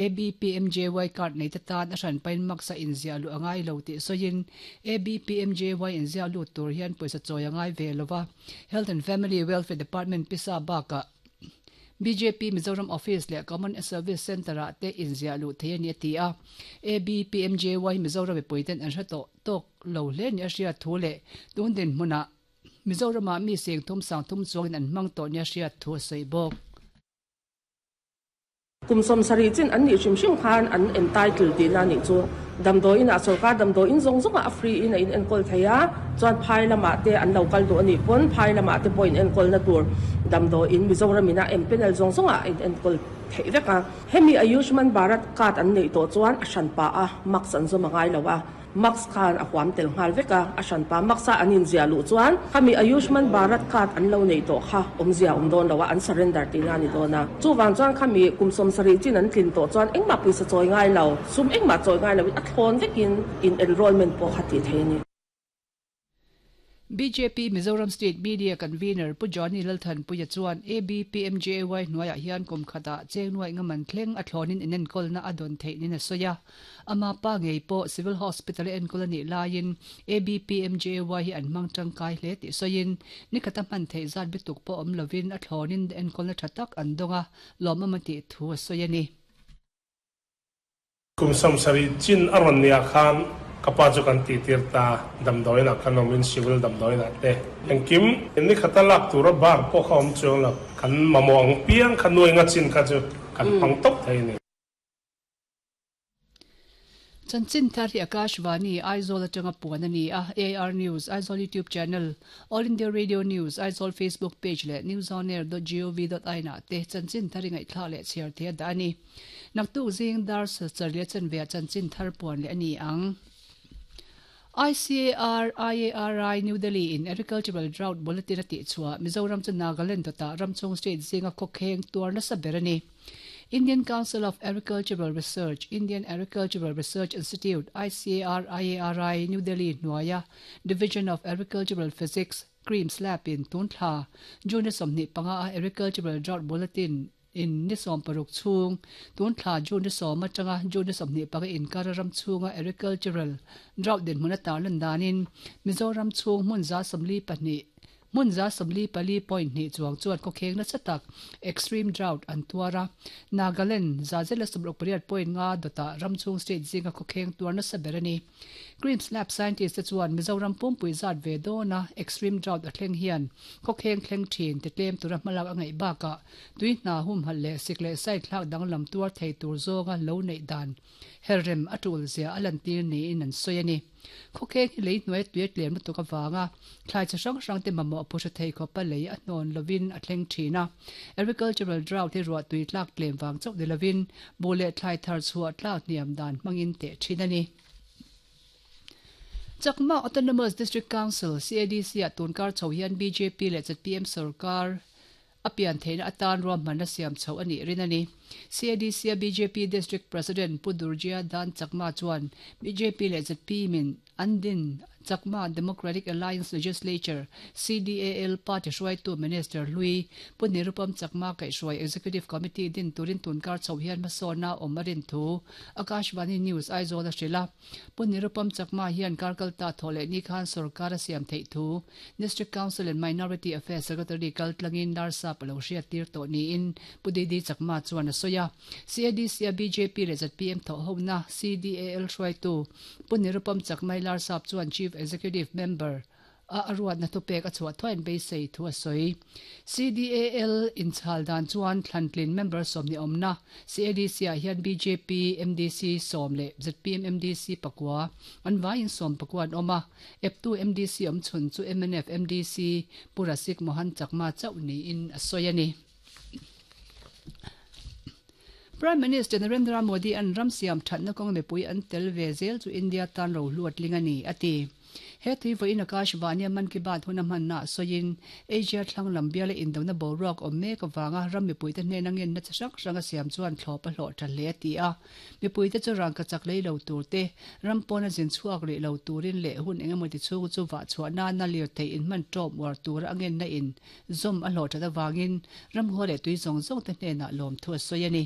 ABPMJY card neite tan a hranpain max a inziah luh a ngai lo tih sawiin ABPMJY inziah lut tur hian pawisa chawi a ngai ve lo va, Health and Family Welfare Department pisa bakah bjp Mizoram Office leh Common Service Centre-ah te inziah luh thei a ni a ti a. ABPMJY hi Mizoram mipuiten an hre tawh tawk lo hle ni a hriat thu leh tun dinhmunah Mizoramah mi sengthum sangthum chuangin an hmang tawh nia hriat thu a sawi bawk. Kum 70 chin an nih hrim hrim khan an entitle tihna a nih chu. Damdawiin ah sorkar damdawiin zawng zawng ah a free in a in enkawl thei a, chuan phai lamah te an lo kal duh a nih pawn phai lamah te pawh in enkawlna tur damdawiin Mizoram in a empanel zawng zawng ah a in enkawl theih vek a. Hemi Ayushman Bharat card an neih tawh chuan a hranpa a mask an zawm a ngai lo a. Mask khan a huam tel nghal vek a, a hranpa mask a an inziah luh chuan khami Ayushman Bharat card an lo neih tawh kha awmzia awm dawn lo a, an surrender tihna a ni dawn a. Chuvang chuan khami kum 70 chin an tlin tawh chuan engmah pawisa chawi ngai lo, sum engmah chawi ngai loin a thlawn vekin in enrollment pawh kha tih theih a ni. Bjp Mizoram State Media Convener Pu Johnny Lalthanpuia chuan ABPMJAY hnuaiah hian kum khatah cheng nuaih nga man thleng a thlawnin inenkawlna a dawn theih nin a sawi a. Ama pa ngei pawh Civil Hospital a enkawl a nih laiin ABPMJAY hi an hmang tangkai hle tih sawiin nikhata hman theih zat bituk pawh awm lovin a thlawnin enkawlna tha tak an dawng a, lawmawm a tih thu a sawi a ni. Kum 70 chin a rawn nia khan ka pa chu kan tihtir ta, damdawiin ah kan awmin civil damdawiin ah te engkim ni khata lak tura bar pawh kha awm chuang lo, kan mamawh ang piang kha nuai nga chin kha chu kan hmang tawp thei a ni. Chanchin thar hi Akashvani, Aizawl atanga puan a ni a, AIR News, Aizawl YouTube Channel, All India Radio News, Aizawl Facebook Page leh newsonair dot gov dot in ah te chanchin thar i ngaihthlak leh chhiar thei a dah a ni. Naktuk zing dar sarih a chanve ah chanchin thar puan leh a ni ang. ICAR, IARI, New Delhi in Agricultural Drought Bulletin a tih chhuah Mizoram chu Nagaland dawtah ramchhung state zinga khawkheng tuar nasa ber a ni. Indian Council of Agricultural Research, Indian Agricultural Research Institute, ICAR, IARI, New Delhi hnuaia Division of Agricultural Physics, CREAMS Lab in tun thla June a 25 a Agricultural Drought Bulletin In ni 60 chhung, tun thla June ni 10 atanga June ni 25 inkara ram chhunga agricultural drought dinhmun a tarlan danin Mizoram chhung hmun 42 hmun 44.2 chuang chuan khawkheng nasa tak, extreme drought, an tuar a. Nagaland 168.5 dawtah ram chhung state zinga khawkheng tuar nasa ber a ni. Creams Lab scientist te chuan Mizoram pumpui zat ve dawna extreme drought a thleng hian khawkheng thleng thin ti tlem tura hmalak a ngaih bakah tui hna humhalh leh sik leh sai thlak danglam tuar thei tur zawnga lo neih dan herrem a tul zia a lantir niin an sawi a ni. Khawkheng hi lei hnuai tui a tlem lutuk avanga thlai chi hrang hrang te mamawh phu hre thei khawpa lei a hnawn lovin a thleng thin a. Agricultural drought hi ruah tui tlak tlem vang chauh ni lovin buh leh thlai thar chhuah tlak hniam dan hmangin teh thin a ni. Chakma Autonomous District Council, CADC, ah tunkar chho hian bjp leh zpm sorkar a pian theihna atan ruahmanna siam chho a nih rin a ni. CADC a bjp District President Pu Durjia Dan Chakma chuan bjp leh zpm in an din Chakma Democratic Alliance Legislature, CDAL, party hruaitu Minister hlui Pu Nirupam Chakma kaihhruai Executive Committee din turin tunkar chho hian hmasawnna awm a rin thu Akashvani News Aizawl a hrilh a. Pu Nirupam Chakma hian karkalta thawh leh ni khan sorkar a siam theih thu District Council and Minority Affairs Secretary kal tlangin Larsap a lo hriattir tawh niin Pu DD Chakma chuan a sawi a. CADC a bjp leh zpm thawhhona CDAL hruaitu Pu Nirupam Chakmai Larsap chuan Chief Executive Member a a ruatna thupek a chhuah thuaiin beisei thu a sawi. CDAL inchhal dan chuan thlantlin member 20 awmna CADC ah hian bjp MDC 10 leh zpm MDC pakua an vaiin 19 an awm a, eptu MDC awmchhun chu mnf MDC Pu Rasik Mohan Chakma chauh niin a sawi a ni. Prime Minister Narendra Modi an ram siam thatna kawng mipui an tel ve zel chu India tan rohlu a tling a ni, a ti. He tui vawiin Akashvani-a Mann Ki Baat hun a hmanna ah sawiin, Asia thlang lam biala indona boruak awm mek avanga ram mipuite hnena ngenna chi hrang hrang a siam chuan thlawp a hlawh tha hle a ti a. Mipuite chu rangka chak lei lo tur te, ram pawna zin chhuak rih lo turin leh hun engemaw ti chhung chu vah chhuah nana lirthei inhman tawp uar tura a ngenna in zawm a hlawh that avangin ramhua leh tui zawng zawng te hnenah lawmthu a sawi a ni.